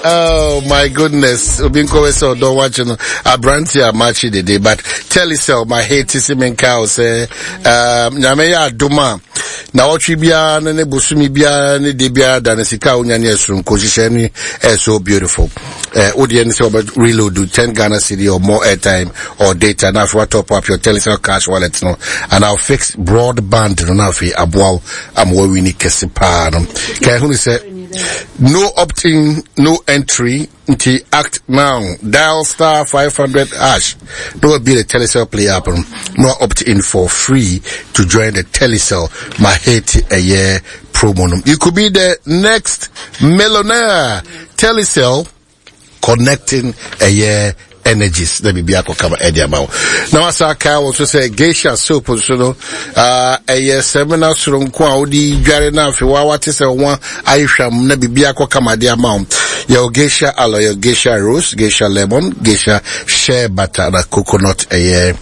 Oh my goodness. Obi nkɔwɛ sɛ ɔdɔ wakye no aberante a makye dede but Telecel my hate sɛ menka wo sɛ um, nyame yɛ adom a na ɔtwe biara no ne bosome biara ne de biara da no sika a wonya ne ɛsoronko nhyehyɛ no ɛyɛ so beautiful. Eh, wo deɛ ne sɛ wɔbɛ reload 10 Ghana cedi or more airtime or data na afei watop up your Telecel cash wallet no and I'll fix broadband no na afei aboa wo ama wawini kɛse paa no. Ka ɛho ne sɛ no opt-in, no entry nti act now dial star 500 hash na wabie the Telecel play app no na opt in for free to join the Telecel Mahete ɛyɛ promo no. You could be the next millionaire. Telecel connecting ɛyɛ energies na biribi akɔka ma ɛde ama wo na wasa aka wo nso sɛ geisha soap nso no ɛyɛ sɛmina soronko a wode dware no afei wa wate sɛ ho ayehwam na biribi akɔka ma de ama wo yɛwɔ geisha aloe yɛwɔ geisha rose geisha lemon geisha shea butter na coconut ɛyɛ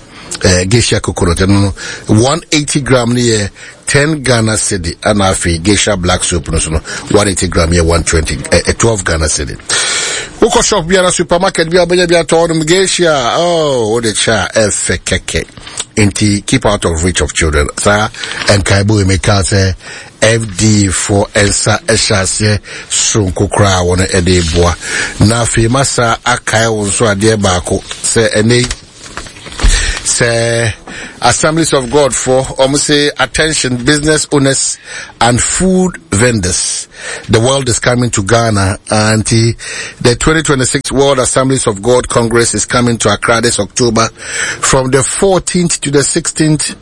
eh, geisha coconut ɛno no 180 gram no yɛ 10 Ghana cedi ɛna afei geisha black soap no so no 180 gram yɛ 120 eh, 12 Ghana cedi wokɔ shop biara supermarket biara wobɛnya bi atɔ nom geisha oh wode kyɛ a ɛfɛ kɛkɛ nti keep out of reach of children saa nkaebɔ yi meka sɛ FDA foɔ nsa hyɛ aseɛ soronko koraa wɔn ɛde boa na afei masa akae wo nso adeɛ baako sɛ ɛnɛ yi sɛ Assemblies of God for wɔn say attention business owners and food vendors the world is coming to Ghana and the, the 2026 World Assemblies of God Congress is coming to Accra this October from the 14th to the 16th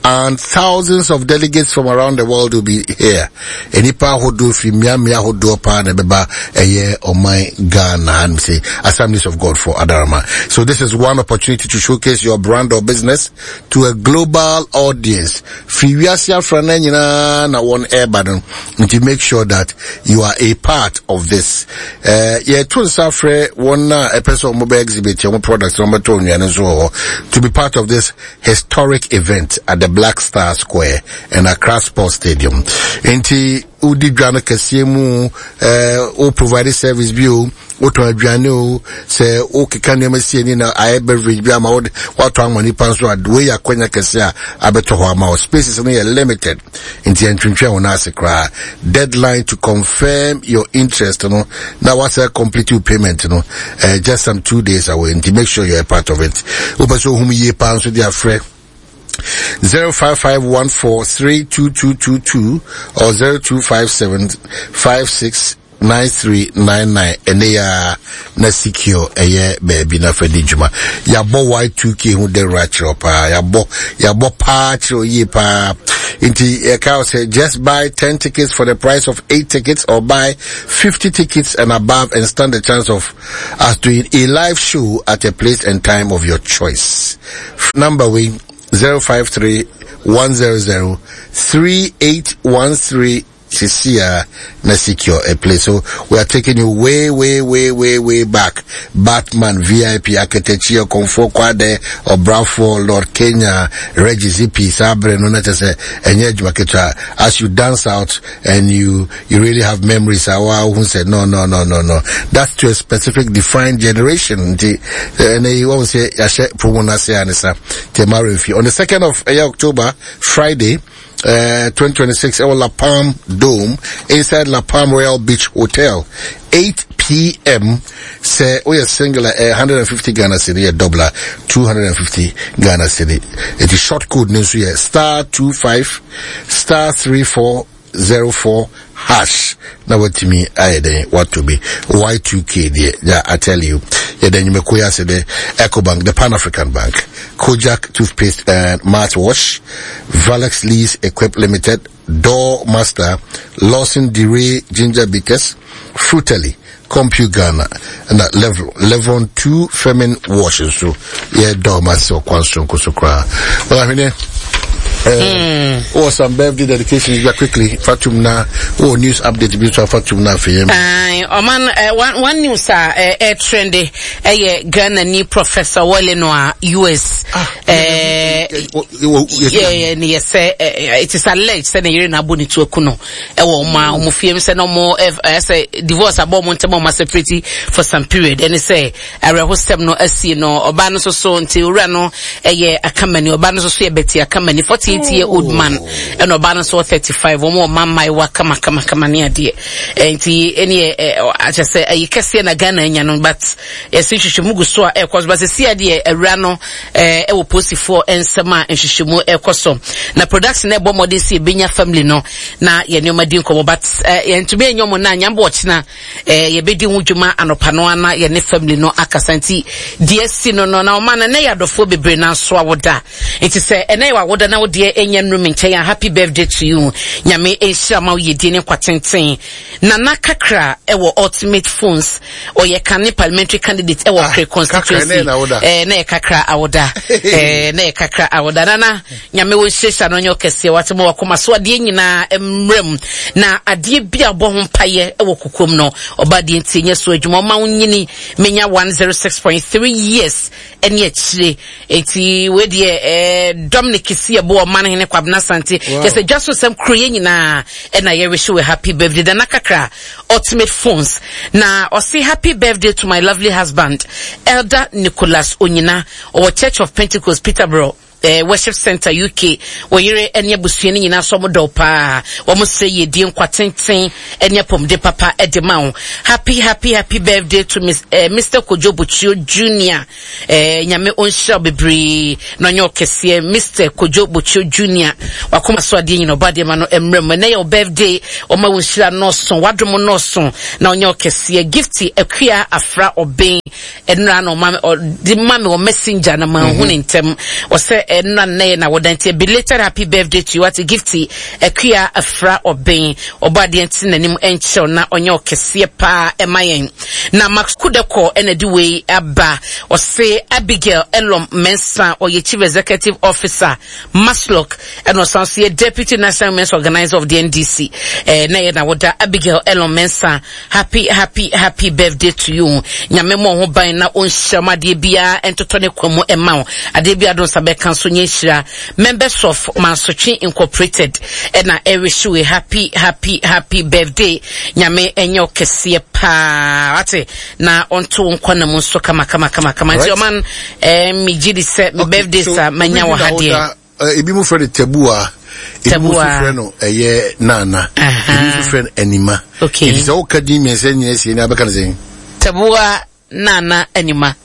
and thousands of delegates from around the world will be here. Nnipa ahodoɔ firi mmeammea ahodoɔ paa na ɛbɛba ɛyɛ ɔman Ghana hanom sei, Assemblies of God for Adarama. So this is one opportunity to showcase your brand or business to a global audience. Firi wiase afrana nyinaa na wɔn ɛreba no, nti make sure that you are a part of this. Eh, yɛto nsa frɛ wɔn a ɛpɛ sɛ wɔn bɛ exhibit wɔn products na wɔn bɛtɔ nnuane nso wɔ hɔ to be part of this historic event at the Black Star Square and Accra Sports Stadium. Nti wodi dwa no kɛseɛ mu eh, wo provide service bi o wotɔn aduane o sɛ wokeka nneɛma sie ni na ayɛ beverage bi ama wode watɔ ama nipa nso a wei yɛ akwanya kɛseɛ a abɛtɔ hɔ ama wo spaces no yɛ limited nti ɛntwentwɛn wo nan ase koraa deadline to confirm your interest no na wasɛ complete your payment no uh, just some two days away nti make sure you're a part of it wopɛ sɛ ohum yie paa nso de afrɛ 0551432222 or 0257 56 9399 ɛnɛ yi ara na secure ɛyɛ baabi na fa di dwuma yɛabɔ y2k ho dawuro akyerɛ paa yɛabɔ yɛabɔ paa kyerɛ yie paa nti yɛka sɛ just buy 10 tickets for the price of 8 tickets or buy 50 tickets and above and stand the chance of us doing a live show at a place and time of your choice number we 053 100 3813 Sisia na secure a place. So we are taking you way, way, way, way, way back. Batman, VIP, Aketechi, Okomfo Kwade, Obrafo, Lord Kenya, Reggie Zippy, Sabre, no na say, enye adwuma As you dance out and you, you really have memories, awa who said, no, no, no, no, no. That's to a specific defined generation. And you won't say, yɛahyɛ promo no ase anisa. On the 2nd of eh, October, Friday, uh, 2026 ɛwɔ La Palm Dome inside La Palm Royal Beach Hotel 8 p.m. sɛ woyɛ single a ɛyɛ 150 Ghana cedi yɛ double a 250 Ghana cedi eti short code no nso yɛ star 25 star 3404 hash na watumi ayɛ dɛn wato bi Y2K deɛ ya I tell you yɛda nnwumakuo yi ase dɛ Ecobank the Pan African Bank Kojak toothpaste and mouthwash Valex Lease Equip Limited Door Master Lawson DeRay Ginger Bitters Frutely Compu Ghana na Level Levon 2 Femin Wash nso yɛ dɔɔ ma ase ɔkwan soronko so koraa wɔn ahweneɛ. Wɔ some birthday dedications bi quickly fatum na wɔ news update bi nso afatum na afei yɛn. Ɔman one news a ɛtrende ɛyɛ Ghana ni Professor Wale no a US. Yɛ ne yɛ sɛ it is alleged sɛ ne yere na abɔ ne tu aku no ɛwɔ ɔmo a ɔmo fie sɛ na ɔmo ɛsɛ divorce abɔ ɔmo ntɛm ɔmo separate for some period ɛne sɛ awerɛhosɛm no asie no ɔbaa no nso so nti owura no ɛyɛ akamani ɔbaa no nso so yɛ bɛti akamani 48 year old man ɛna ɔbaa no nso 35 wɔn wɔ mma mmaayewa kama kama kama ne adeɛ nti ɛne ɛ akyɛ sɛ ɛyi kɛseɛ na Ghana anya no but yɛsi nhwehwɛmu gu so a ɛkɔ so but sisi adeɛ awura no ɛwɔ polisifoɔ nsɛm a nhwehwɛmu ɛkɔ so na production ɛbɔ mmɔden si ebenya family no na yɛ nneɛma di nkɔmɔ but yɛntumi enyo mo na nyambɔ ɔkyena Eh, yɛbɛdi ho dwuma anɔpa no ana yɛne family no akasa nti deɛ asi no no na ɔma no ɛnɛ yɛ adɔfoɔ bebree na nso awoda nti sɛ ɛnɛ yɛ wawoda na wodeɛ ɛnya nnuru me nkyɛn a happy birthday to you. Nyame nhyira ma wo yɛdie ne nkwa tenten. Nana Kakra ɛwɔ Ultimate Phones, ɔyɛ kane parliamentary candidate ɛwɔ ah, Kre constituency. Eh, na yɛ Kakra awoda. Eh, na yɛ Kakra awoda. Nana Nyame wo nhyirahyira no nyɛ ɔkɛseɛ wate ma wakoma so adeɛ nyinaa mmerɛ mu na adeɛ bi a bɔ ho mpayɛ wɔ kokoam no ɔba adeɛ nti nyɛ so adwuma ɔma wo nyini menya 106.3 years ɛne akyire enti wei deɛ eh, Dominic si ɛbo ɔman hene Kwabena Sante kyɛ sɛ dwa so sɛm kuro yɛ nyinaa ɛna yɛrehye wɔ happy birthday Nana Kakra Ultimate Phones na ɔse happy birthday to my lovely husband Elder Nicholas Onyina ɔwɔ Church of Pentecost Peterborough Eh, Worship Center UK, wo yere ne abusua no nyinaa so wɔn dɔ paa. Wɔn srɛ yiedie, nkwa tenten ne apɔmuden papa de ma wo. Happy happy happy birthday to Miss, eh, Mr. Kojo Bochio Junior. Eh, Nyame ɔnhyira wo bebree na ɔnyɛ ɔkɛseɛ. Mr. Kojo Bochio Junior. Wakoma so adeɛ nyina ɔba adeɛ ma no mmerɛ mu. Ɛnɛ yɛ wo birthday, ɔma wo nhyira nɔɔso, wadom nɔɔso na ɔnyɛ ɔkɛseɛ. Gifty Akua Afra Ɔben. Ɛnora na ɔma ɔde ma me wɔ messenger na manhu ne ntɛm. Ɔsɛ ɛnora nnɛ yɛ na wɔda nti belated happy birthday to you. Wate Gifty Akua Afra Ɔben. Ɔbɔ adeɛ nti n'anim nkyerɛw na ɔnyɛ ɔkɛseɛ paa ɛma yɛn. Na Max Kudekɔ ɛna de wei aba. Ɔse Abigail Elom Mensah ɔyɛ Chief Executive Officer Masloc ɛna ɔsan so yɛ Deputy National Women's Organizer of the NDC. Eh, na yɛ na wɔda Abigail Elom Mensah. Happy happy happy birthday to you. Nyame mmɔ ho ban na ɔnhyira mu adeɛ biara ntotɔ ne kwa mu ɛma wo. Adeɛ biara do nsa bɛka nso nyɛ nhyira. Members of Mansotwe Incorporated ɛna ɛrehye we happy happy happy birthday. Nyame ɛnyɛ wo kɛseɛ paa. Wate na ɔnto wo nkwa na mu nso kama kama kama kama. Nti ɔman eh, megye di sɛ me birthday sa manya wɔ ha deɛ. Ebi mo frɛ no tabua, ebi mo nso frɛ no ɛyɛ nana, ebi nso frɛ no anima. Okay. Nti sɛ woka din mmiɛnsa nyina sie ni abɛka no sɛn? Tabua, nana, anima.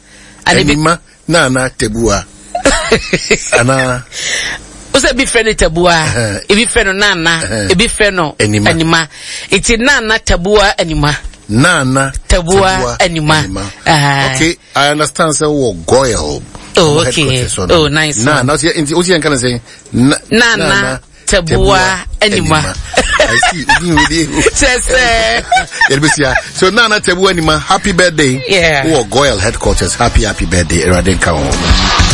Anima, nana, tabua. Anaa. Wosɛ ebi frɛ no tabua, ebi frɛ no nana, ebi frɛ no anima. Nti nana, tabua, anima. Nana, tabua, anima. Okay. I understand sɛ wɔ Goil. Oh, okay. Oh, nice. Na, na, nti, o si yɛn kana sɛ. Na, na, tabua, anima. I see. Kyɛ sɛ. Yɛde So, Nana Tabua Anima, happy birthday. Yeah. Wɔ Goil headquarters, happy, happy birthday. Erade nka ho.